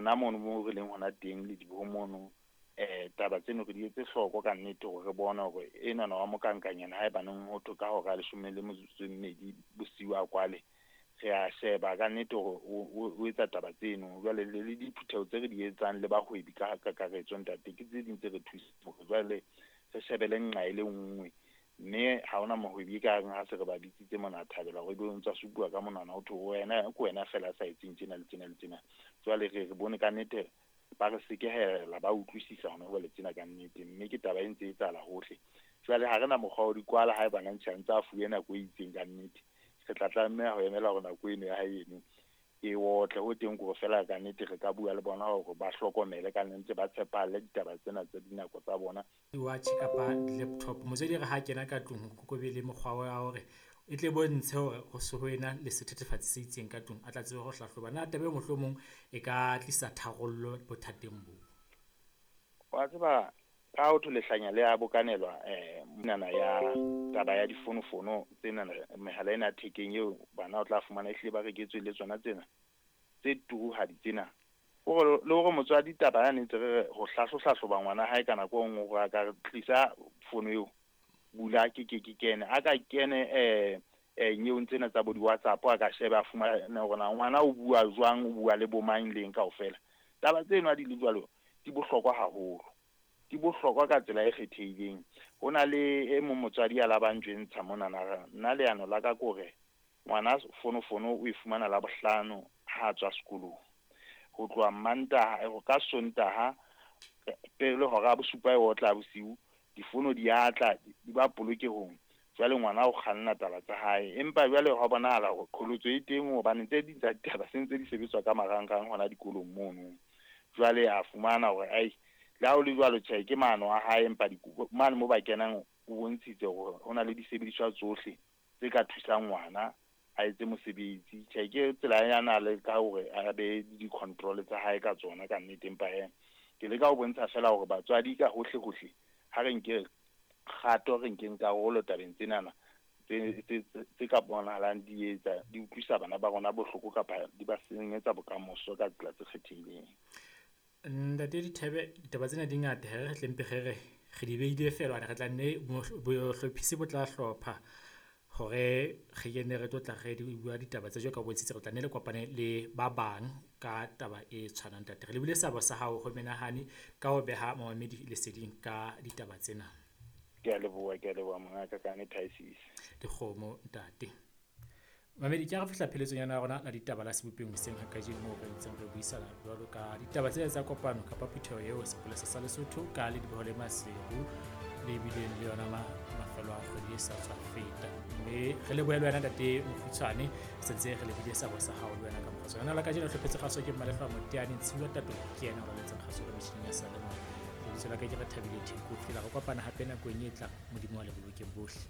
Rona mono moo re leng hona teng le diboho mono, taba tseno re di etse hloko ka nnete hore re bone hore enwana wa mokankanyana haebaneng ho thwe ka hora ya 12 bosiu a kwale, re a sheba ka nnete hore o etsa taba tseno. Jwale le diphutheho tse re di etsang le bahwebi ka kakaretso ntate, ke tse ding tse re thusang hore jwale re shebele nqa e le nngwe. Mme ha hona mohwebi e ka reng ha se re ba bitsitse mona a thabela hore ebe o ntsa supuwa ka monwana ho thwe wena ke wena feela a sa etseng tjena le tjena le tjena. Jwale re bone ka nnete ba re sekehela, ba utlwisisa hona jwale tsena ka nnete, mme ke taba e ntse e etsahala hohle. Jwale ha re na mokgwa wa di kwala haeba na ntse a fuwe nako e itseng ka nnete. Re tla tlameha ho emela hore nako eno ya hae eno e otle. Ho teng kore feela ka nnete re ka bua le bona hore ba hlokomele ka nnete, ba tshepahalle ditaba tsena tsa dinako tsa bona. Di-watch kapa di-laptop, motswadi re ha kena ka tlung ho be le mokgwa wa hore e tle bontshe hore ho se ho ena le sethethefatsi se itseng ka tlung, a tla tsebe ho hlahloba. Na taba e mohlomong e ka tlisa tharollo bothateng bo? Wa tseba ka ho thwe lehlanya le a bokanelwa monana ya taba ya difonofono tsena, mehala ena ya thekeng eo bana o tla fumana ehlile ba reketswe le tsona tsena tse turuhadi tsena. Hore le hore motswadi taba yane ntse re re ho hlahloba ngwana hae ka nako e nngwe hore a ka re tlisa fono eo, bula ke kene, a ka kene nyeong tsena tsa bo di-WhatsApp, a ka sheba a fumane hore na ngwana o bua jwang, o bua le bo mang leng kaofela. Taba tseno ha di le jwalo di bohlokwa haholo, di bohlokwa ka tsela e kgethehileng. Ho na le e mong motswadi a labang jwentsha monana, nna leano la ka ke hore ngwana fonofono o e fumana Labohlano ha tswa sekolong, ho tloha Mantaha ka Sontaha pele hora ya bosupa e otla bosiu, difono di atla di ba polokehong. Jwale ngwana o kganna taba tsa hae, empa jwale ho bonahala hore qholotso e teng hobane tse ding tsa ditaba se ntse di sebetswa ka marangrang hona dikolong mono. Jwale a fumana hore ai le ha ho le jwalo, tjhe ke maano a hae, empa mane mo ba kenang o bontshitse hore ho na le disebediswa tsohle tse ka thusang ngwana a etse mosebetsi. Tjhe ke tsela ya na le ka hore a be di-control tsa hae ka tsona ka nnete, empa hee ke leka ho bontsha feela hore batswadi ka hohle hohle ha re nke kgato, re nkeng karolo tabeng tsenana tse ka bonahalang di etsa di utlwisa bana ba rona bohloko kapa di ba senyetsa bokamoso ka tsela tse kgethehileng. Ntate Dithebe, ditaba tsena di ngata, re tle mpe re re di behile feela hobane re tla nne bohlophisi bo tla hlopha hore re kene re tlo tla re di bua ditaba tse jwalo ka bontshitse, re tla nne le kopane le ba bang ka taba e tshwanang. Ntate, re lebile seabo sa hao ho menahane ka ho beha momamedi leseding ka ditaba tsena. Ke a leboha mongaka ka nnete ha e sise. Dikgomo ntate. Mamedi, ke a re fihla pheletsong ya rona la ditaba la sebopeng hoseng ha kajeno moo re ntseng re buisana jwalo ka ditaba tsena tsa kopano kapa phutheho eo sepolesa sa Lesotho ka Lediboho le Maseru le bileng le yona mafelo a kgwedi e sa tswa feta. Mme re lebohe le wena ntate Mokgutshwane, se ntse re lebile seabo sa hao le wena ka mokgwa tsona. La kajeno hlophetse kgaso ke Mmalehloa Moteane, Ntshiwa Tato ke yena o raletseng kgaso ka metjhining ya seyalemoya. Lebitso la ka ke Rethabile Theko. Fihlela re kopana hape nakong e tlang. Modimo wa le bolokeng bohle.